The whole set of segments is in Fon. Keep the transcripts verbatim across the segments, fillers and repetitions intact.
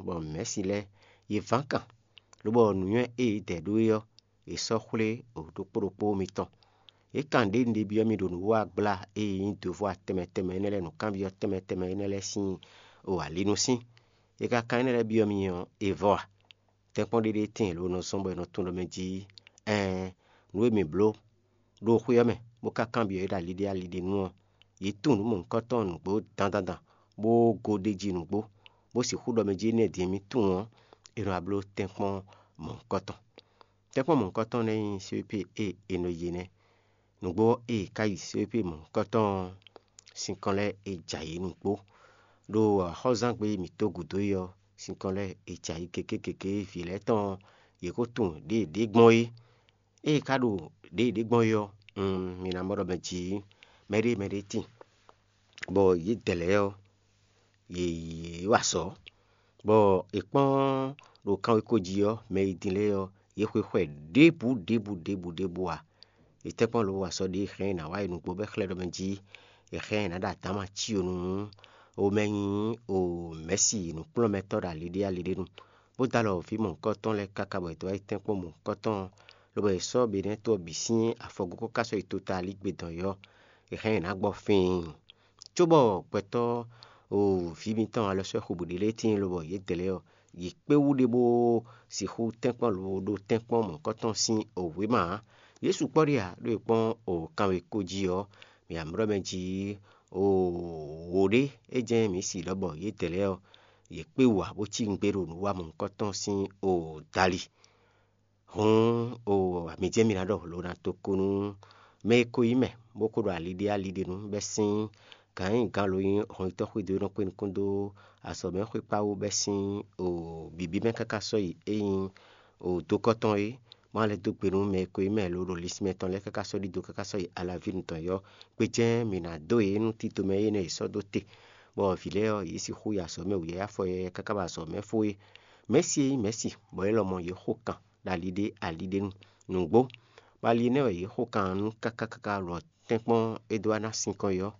bɔ mɛ̌si lɛ́ɛ yě ván kan, lobɔ nǔnywɛ́ e yě dɛ ɖó é ɔ́, yě sɔ́ xwlé ɖokpó ɖokpó mitɔn. Yě kan ɖě un ɖe byɔ́ mi ɖo nǔwiwa gbla e nyí dǒvɔ tɛnmɛ tɛnmɛ énɛ́ lɛ́ɛ, nǔkanbyɔ́ tɛnmɛ tɛnmɛ énɛ́ lɛ́ɛ sín o alinu sín. È ka kan énɛ́ lɛ́ɛ byɔ́ mi ɔ́, è vɔ a? Tɛ́nkpɔ́n ɖé ɖé tíin lě e nɔ zɔ́n bɔ è nɔ tunwun ɖɔ mɛ jí ɛɛn nǔ e mǐ bló ɖo xwé ɔ́ mɛ, bó ka kanbyɔ́ yě ɖo aliɖé aliɖé nu ɔ́, yě tunwun nǔ mɔ̌hunkɔtɔn nǔgbó dandandan, bó gó ɖ'é jí nǔgbó, bó sixú ɖɔ mɛ jí énɛ́ din e mǐ tunwun ɔ́, è nɔ wá bló tɛ́nkpɔ́n mɔ̌hunkɔtɔn. Tɛ́nkpɔ́n mɔ̌hunkɔtɔn nɛ́ nyí C P P e è nɔ yi nɛ́. Nǔgbó ɔ́, ée è ká yi C P P mɔ̌hunkɔtɔn ɔ́, sinkɔn lɛ́ɛ è jɛ ayǐ nǔgbó. Ɖo axɔ́zángbé e mǐ tó gǔdo é ɔ́, sinkɔn lɛ́ɛ è jɛ ayǐ gěgé gěgé vǐ lɛ́ɛ tɔn ɔ́, yě ko tunwun ɖěe ɖě gbɔn é. Ée è ka ɖo ɖěe ɖě gbɔn é ɔ́, mi ná mɔ ɖɔ mɛ jǐ mɛɖée mɛɖée tíin, bɔ yědɛɛ lɛ́ɛ ɔ́, yě yě wa azɔ̌, bɔ è kpɔ́n ɖo kanwekó jí ɔ́, mɛ e din lɛ́ɛ ɔ́, yě xwe xwɛ ɖěbǔ ɖěbǔ ɖěbǔ ɖěbǔ ǎ. È tɛ́nkpɔ́n lobo wa azɔ̌ ɖě hɛn ɛ nǎ wá yi nǔgbó bɔ é xlɛ́ ɖɔ mɛ jí è hɛn ɛ nǎ ɖo adǎma cí o nú o mɛ nyí o mɛ̌si nǔkplɔ́nmɛtɔ́ ɖo ali ɖé ali ɖé nu, bó dó alɔ vǐ mɔ̌hunkɔtɔn lɛ́ɛ káká bɔ è dó wá yi tɛ́nkpɔ́n mɔ̌hunkɔtɔn, lobo è sɔ́ Benɛ́to ɔ́ bǐ sín afɔgókó ká sɔ́ yi tota alígbé dɔn yɔ́, è hɛn ɛ nǎ gbɔ fɛ́ɛn. Cóbɔ gbɛtɔ́ o vǐ mitɔn alɔswɛ́ xwebǔ ɖé lɛ́ɛ tíin lobɔ yědɛɛ lɛ́ɛ ɔ́, yě kpé wú ɖé bó sixú tɛ́nkpɔ́n lobo ɖó tɛ́nkpɔ́n mɔ̌hunkɔtɔn sín wěma ǎ. Yě sukpɔ́ ɖé ǎ, ɖó è kpɔ́n o kanwekó jí ɔ́, mǐ amlɔ́ mɛ jí o wǒ ɖé, é jɛ́n mǐ si ɖɔ bɔ yědɛɛ lɛ́ɛ ɔ́, yě kpé wú ǎ bó cí nǔgbé ɖo nǔ wa mɔ̌hunkɔtɔn sín o dali. Hǔn, o mi jɛ́n mi ná ɖɔ lo ná to ko nú mɛ e ko nyí mɛ, bó ko ɖo ali ɖé ali ɖé nu, bɛ́ sín gǎn e nyí gǎn lo nyí hɔnyitɔ́ xwedó e nɔ kpé nukún dó azɔ̌mɛxwé kpá wú bɛ́ sín o bǐbí mɛ káká sɔ́ yi é nyí o dokɔ́tɔn é, má lɛ́ dó gbe nú mɛ e ko nyí mɛ lo ɖo linsin mɛtɔn lɛ́ɛ káká sɔ́ ɖidó káká sɔ́ yi alaví nǔtɔn yɔ́. Gbéjɛ́n mǐ ná dó yě nú tito mɛ énɛ́ è sɔ́ dó te, bɔ vǐ lɛ́ɛ ɔ́, yě sixú yi azɔ̌ mɛ wǔyá afɔ yɛyɛ káká bɔ azɔ̌ mɛ fó é. Mɛ̌si e nyí mɛ̌si, bɔ é lɔmɔ̌ yě xo kan ɖo ali ɖé ali ɖé nu. Nǔgbó, bɔ ali énɛ́ wɛ yě xo kan ɔ́ nú káká káká lɔ tɛ́nkpɔ́n é dó wá ná sinkɔn é ɔ́,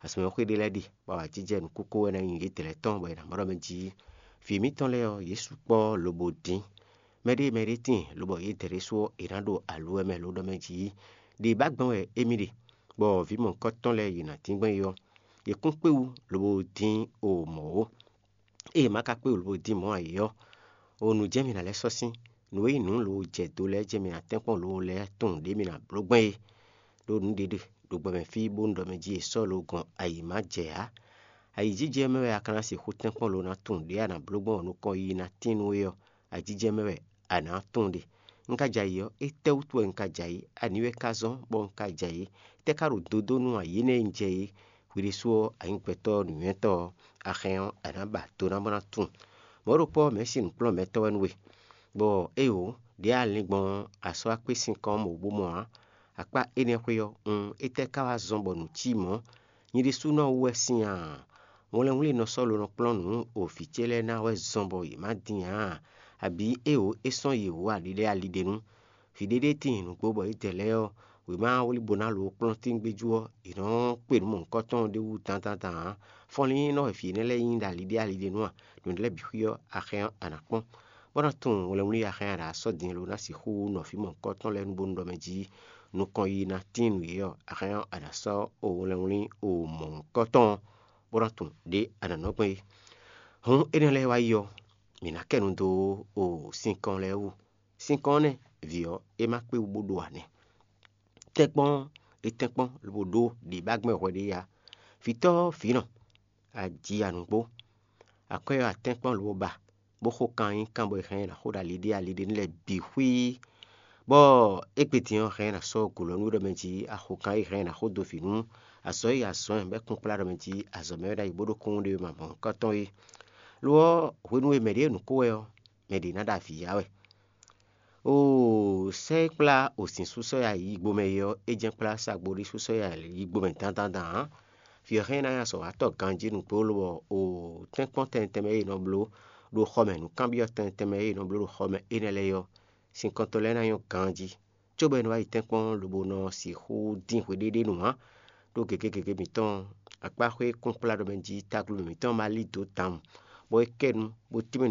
azɔ̌mɛxwé ɖé lɛ́ɛ ɖi, bɔ awǎjijɛ nǔkúkú wɛ ná nyí yědɛɛ lɛ́ɛ tɔn, bɔ è nǎ mɔ ɖɔ mɛ jí vǐ mǐtɔn lɛ́ɛ ɔ́, yě sukpɔ́ lobo dín. Mɛɖée mɛɖée tíin, lobɔ yědɛɛ ɖésú ɔ́, è nǎ ɖo aluwɛ mɛ lo ɖɔ mɛ jí ɖě ba gbɔn wɛ émí ɖe, bɔ vǐ mɔ̌hunkɔtɔn lɛ́ɛ yě ná dín gbɔn é ɔ́, yě kún kpé wú lobo dín o mɔ̌ ó. Ée è ma ka kpé wú lobo dín mɔ̌ ǎ é ɔ́, o nǔ jɛ́n mǐ ná lɛ́ sɔ́ sín; nǔ e nyí nǔ lobo jɛ do lɛ́ɛ jɛ́n mǐ ná tɛ́nkpɔ́n lobo lɛ́ tunwun ɖě mǐ ná bló gbɔn é. Ɖó nǔ ɖě ɖe ɖo gbɔmɛ fí bónú ɖɔ mɛ jí è sɔ́ lo gɔn ayǐ ma jɛ ǎ. Ayǐjijɛ mɛ wɛ a ka ná sixú tɛ́nkpɔ́n lo ná tunwun ɖě a nǎ bló gbɔn nukɔn yiyi ná tín nú we ɔ́, ayǐjijɛ mɛ wɛ a nǎ tunwun ɖe. Un ka jɛ ayǐ ɔ́, étɛ́wútu wɛ un ka jɛ ayǐ? Ani wɛ ka zɔ́n bɔ un ka jɛ ayǐ? Étɛ́ ka ɖo dodó nú ayǐ énɛ́ e un jɛ é? Hwi ɖésú ɔ́, a nyǐ gbɛtɔ́ nǔnywɛ́tɔ́ ɔ́, a hɛn ɔ́, a nǎ ba do ná bó ná tunwun. Mɔ̌ ɖokpó ɔ́, mɛ̌si nǔkplɔ́nmɛtɔ́ wɛ nú we, bɔ éeǒ, ɖě a lin gbɔn ɔ́, a sɔ́ wá kpé sinkɔn ɔ́ mɔ bó mɔ ǎ. Akpá énɛ́ xwé ɔ́, un étɛ́ ka wá zɔ́n bɔ nǔ cí mɔ̌? Nyɛ ɖésúnɔ wú wɛ sín a? Wlɛnwlí nɔ sɔ́ lo nɔ kplɔ́n nǔ o vǐ ce lɛ́ɛ ná wɛ zɔn bɔ yě má din ǎ? Abǐ éeǒ, é sɔ́n yě wú aliɖé aliɖé nu? Vǐ ɖéɖé tíin nǔgbó bɔ yědɛɛ lɛ́ɛ ɔ́, wěma wlí bó ná lo kplɔ́ntíngbejú ɔ́, è nɔ kpe nǔ mɔ̌hunkɔtɔn ɖé wú dandan ǎ. Fɔnlín nɔ wɛ vǐ énɛ́ lɛ́ɛ nyí ɖo aliɖé aliɖé nu a? Nǔ lɛ́ɛ bǐ xwí ɔ́, a hɛn ɔ́, a nǎ kpɔ́n, bó ná tunwun wlɛnwlí a hɛn a nǎ sɔ́ din lo ná sixú nɔ vǐ mɔ̌hunkɔtɔn lɛ́ɛ nu bónú ɖɔ mɛ jí nukɔn yiyi ná tíin nú yě ɔ́, a hɛn ɔ́, a nǎ sɔ́ o wlɛnwlí o mɔ̌hunkɔtɔn, bó ná tunwun ɖě a nǎ nɔ gbɔn é. Hǔn énɛ́ lɛ́ɛ wá yi ɔ́, mǐ ná kɛ nu dó o sinkɔn lɛ́ɛ wú. Sinkɔn ɔ́ nɛ́, vǐ ɔ́, é má kpé wú bó ɖó ǎ nɛ́. Tɛ́nkpɔ́n, é tɛ́nkpɔ́n lobo ɖó ɖě ba gbɛn hwɛ ɖé ya. Vǐtɔ́ vǐnɔ, a ji ya nǔgbó. Akwɛ́ ɔ́, a tɛ́nkpɔ́n lobo ba, bó xo kan nyí kan bɔ è hɛn ɛ ná xo ɖo aliɖé aliɖé nú lɛ́ɛ bǐ xwíí. Bɔ égbé din ɔ́, hɛn ɛ ná sɔ́ gǒ lɔ nú we ɖɔ mɛ jí a xo kan e hɛn ɛ ná xo dó vǐ nú azɔ̌ e a zɔ̌n ɛ bɔ é kún kplá ɖɔ mɛ jí azɔ̌ mɛ wɛ ɖ'ayǐ bó ɖó kúnnu ɖé ma mɔ̌hunkɔtɔn é. Lo ɔ́, hwenu e mɛ ɖě nǔ ko wɛ ɔ́, mɛ ɖě ná ɖo avǐ ya wɛ. Oo, sɛ́ e kplá o sin sú sɔ́ yi ayi yigbo mɛ é ɔ́, é jɛ́n kplá sagbo ɖé sú sɔ́ yi ayi yigbo mɛ dandan ǎ. Vǐ ɔ́ hɛn ná nyi azɔ̌watɔ́ ganjí nǔgbó lobɔ oo, tɛ́nkpɔ́n tɛnmɛ tɛnmɛ e è nɔ bló ɖo xɔ mɛ, nǔkanbyɔ́ tɛnmɛ tɛnmɛ e è nɔ bló ɖo xɔ mɛ énɛ́ lɛ́ɛ é ɔ́, sinkɔntɔ́ lɛ́ɛ ná nyɔ́ ganjí, cóbɔ é nɔ wá yi tɛ́nkpɔ́n lobo nɔ sixú dín hweɖéɖé nu ǎ. Ɖó gěgé gěgé mǐtɔn, akpáxwé kún kplá ɖɔ mɛ jí taglomɛ mǐtɔn ma lí dǒ tawun, bɔ é kɛ nu, bó tínmɛ nǔ